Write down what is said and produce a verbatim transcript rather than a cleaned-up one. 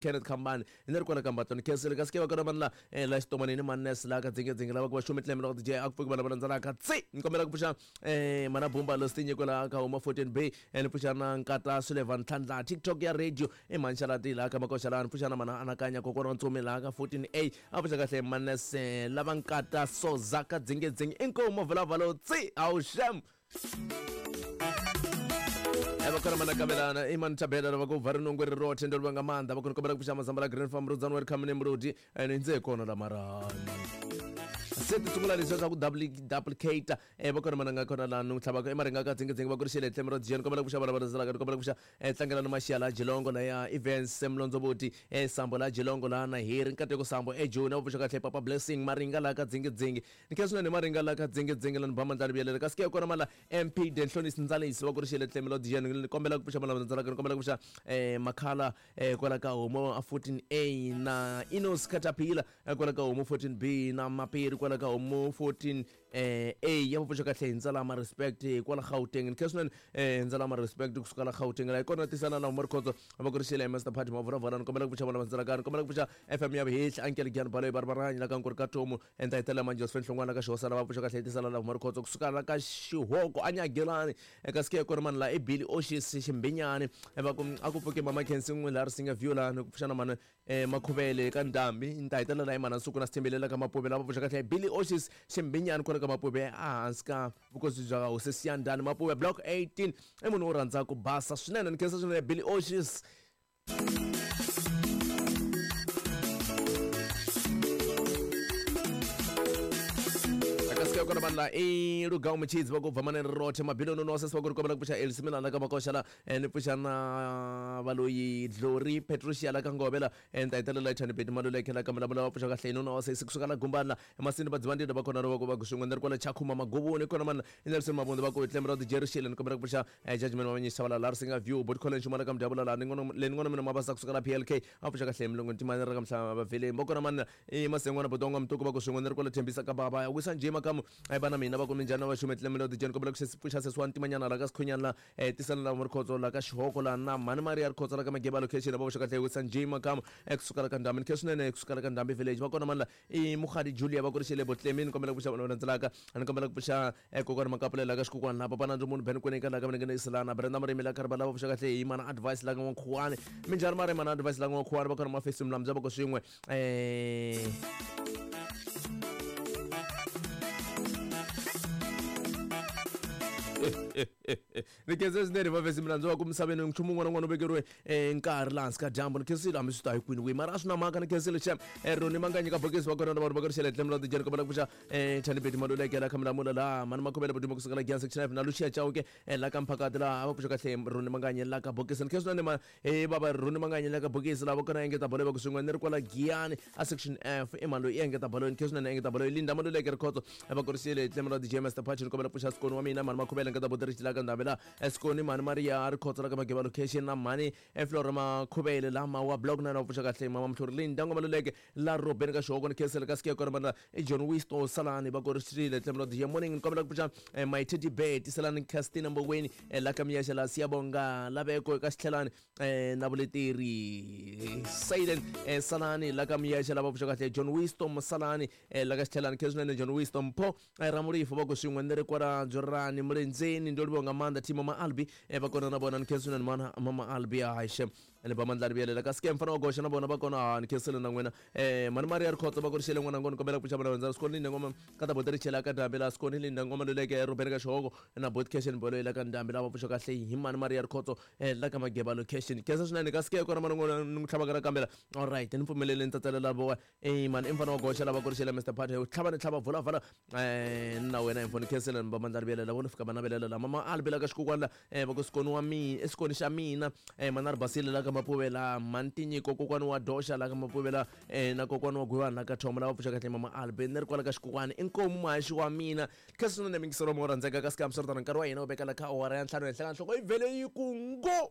Kenneth Khambani ni ri kwala ka Mbatoni khensile kasi ke va kona vanhu la eh, la xitomanini manes la ka dzingedzinge lava ku va xumi tlemela ku D J a ku pfuki vanhu va landzelaka tsi ni kombela ku pfuxa eh, mana bumba lo stinyiko la ka huma fourteen B eh, ni pfuxa na nkata Sullivan Ntlhandla TikTok ya radio i manxalati la ka makoxa la ni pfuxa na mana anakanya kokwana wa ntsumi la ka fourteen A a pfuxa kahle manes eh, lava nkata soza ka dzingedzinge inkomu vulavalo tsi awuxem vakona manakabelana imani thabela lava ku bva rinongo ri rotlhe ndo livha nga maanḓa vha kona kombela ku pfuxa mazamba la Green Farm Rudzani wa ri khamune mulodi ene ndze kona la mara se ti sungula leswiya swa ku duplicate eh va kona mananga kona la nu tlhavaka emaringa ka dzingedzinge va ku ri xele tlhelo ra dziyeni kombela ku pfuxa vana va landzelaka ni kombela ku pfuxa eh tlangela ni maxiya la Jilongo la ya Events Mlondzoboti eh Sambo la Jilongo la na Heri Nkateko Sambo eh Joni va pfuxa kahle Papa Blessing Maringa la ka dzingedzinge ni khensa swinene Maringa la ka dzingedzinge la ni ba mandla ni vuyelela kasi ke kona mala M P Denhlonisi Ndzalisi va ku ri xele tlhelo ra dziyeni ni kombela ku pfuxa vana va landzelaka ni kombela ku pfuxa eh Makhala eh kwala ka Homo fourteen A na Inos Caterpillar kwala ka Homo fourteen B na Mapiri kwala ka Homo fourteen eh A ya pfuxa kahle hi ndzalama respect kwala Gauteng ni khensa swinene eh ndzalama respect kusuka la Gauteng la ikona tisana la Morkhotso va ku ri xele Master Party Mavuravala ni kombela ku pfuxa vana va landzelaka ni kombela ku pfuxa F M ya Vihehla Uncle Gyan Baloyi Barbaranyi la ka Nkuri ka Tomu enta hitela manje Joseph Nhlongwana ka Xihosana va pfuxa kahle tisana la Morkhotso kusuka la ka Xihoko Anyagelani eka sike kona mani la i Billy Oshis Ximbinyani va ku a ku pfuke mama Khensi n'we la ri singa view la ni ku pfuxa na mana eh Makhuvele ka Ndhambi ni ta hetelela la imana nsuku na Sithembelela ka Mapuve lava pfuxa kahle Billy Oshis Ximbinyani kwala ka Mapuve ehansi ka vukosi bya hosi Siyandhani Mapuve block eighteen i munhu wo rhandza ku basa swinene ni khensa swinene Billy Oshis. Kona vanhu la i Lugau Mutshidzi va ku bva manene rothe mabilioni no sesi va ku ri kombela ku pfuxa Elsie Milana ka Makoxa la ni pfuxa na valoyi Glory Patricia la ka Ngove la ni ta hetelela Thani Beti Maluleke la ka Mulamula va pfuxa kahle nuna wa sesi kusuka la Gumbani la emasini vadzivandile va kona va ku va ku swin'we ni ri kwala Chakhuma Maguvuni kona mani i Nelson Mabunda va ku tlem ra Jerry Shile ni kombela ku pfuxa Judgment wa Manyisa la la Risinga View Bot College Xumala ka Mdyabula la ni ngona le ni ngona mina mabasa kusuka la P L K a pfuxa kahle milongo ntimani ra ka Mhlava va veleni va kona mani i Masengwana Bodonga Mtuku va ku swin'we ni ri kwala Thembisa ka baba ya wisa njhe makamu ai bana mina va ku minjhani va xume tlemelo di jeni kombela ku pfuxa sesi wa ntimanyana la ka Sikhunyana la eh tisana la Mrikhotso la ka Xihoko la na mhani Maria Rikhotso la ka Mageba location va pfuxa kahle wisa njhe makamu ekusuka la ka Ndhambi ni khe swinene kusuka la ka Ndhambi village va kona mani la i Mukhadi Julia va ku ri xele Botlemini kombela ku pfuxa vanhu va landzelaka ni kombela ku pfuxa kokwana Makapulela ka Xikukwana la papa Nandzu munhu Ben Kweneka la ka Mlengene Isilana Brenda Marimi la Karibala va pfuxa kahle hi mana advice la ka N'wankhuwani minjhani mara mana advice la ka N'wankhuwani va kona mafesi Mlamza va ku swin'we eh ni khensa swinene vavesi milandzu wa ku misaveni nchumu wun'wana wun'wana u vekeriwe nkarhi laha hansi ka dyambu ni khensile hambi swi ta hi kwini kwihi mara a swi na mhaka ni khensile xem Roni Manganyi ka bokisi va kona na vanhu va ku ri xele tlhelo ra tijeni kombela ku pfuxa Thani Beti Maluleke la Khamula laha mani Makhuvele Bodumo kusuka la Giyani section five na Lucia Chauke la ka Mphakati laha va pfuxa kahle Roni Manganyi la ka bokisi ni khensa swinene ma eh baba Roni Manganyi la ka bokisi lava kona engeta bolo va ku swin'we ni ri kwala Giyani a section F i mali loyi i engeta bolo ni khensa swinene engeta bolo Linda Maluleke Rikhotso va ku ri xele tlhelo ra D J Master Patch ni kombela ku pfuxa Sikoni wa mina mani Makhuvele nkata botirisi la ka Ndhambi la Sikoni mani Maria Rikhotso la ka Mageba location na mani Flora Makhuvele la mawa block na na pfuxa kahle mama Mhluri Linda Maluleke la Robeni ka Xihoko ni khensele ka Sike kona mana John Wisto Salani va ku ri xile tlhelo ra D J morning ni kombela ku pfuxa my teddy bear tiselani Castina Mboweni la ka Miyasha la Siyabonga laveko eka Xitlhelani na vuleteri Silent Salani la ka Miyasha la va pfuxa kahle John Wisto Salani la ka Xitlhelani khensile John Wisto Mpho Ramurifu va ku swin'we ni ri kwala Dzorani Mulendzeni ndo livha nga maanḓa Timo Maalbi va kona na vona ni khensile mana mama Albi haxe ni ba mandla rivelela ka Sike mfana wa goxa na vona va kona ni khensile na n'wina eh mani Maria Rikhotso va ku ri xele n'wana ngoni kombela ku pfuxa vana vandza Sikoni Linda Ngoma ka ta boteri chela ka Ndhambi la Sikoni Linda Ngoma Luleke Robeni ka Xihoko na bot cash bolo la ka Ndhambi la va pfuxa kahle hi mani Maria Rikhotso la ka Mageba location khensa swinene ka Sike kona mana ngona ni tlhava ka kambela all right ni pfumelele ni tsatsalela vo eh mani i mfana wa goxa lava ku ri xele Mister Party tlhava ni tlhava vula vala eh na wena hi mfoni khensile ni ba mandla rivelela vona fika bana velela la mama Albi la ka Xikukwana la eh va ku Sikoni wa mina Sikoni xa mina eh mana Ribasile la ka Mapuvela Mantinyiko kokwana wa Doxa la ka Mapuvela eh na kokwana wa Gwiwana la ka Thoma la va pfuxa kahle mama Albi ni ri kwala ka Xikukwana inkomu muhaxi wa mina khensa swinene mingiselo mo rhandzeka ka Sike hambiswiritano nkarhi wa hina wu veka la ka awara ya ntlhanu henhla ka nhloko yi vhele yi ku ngo.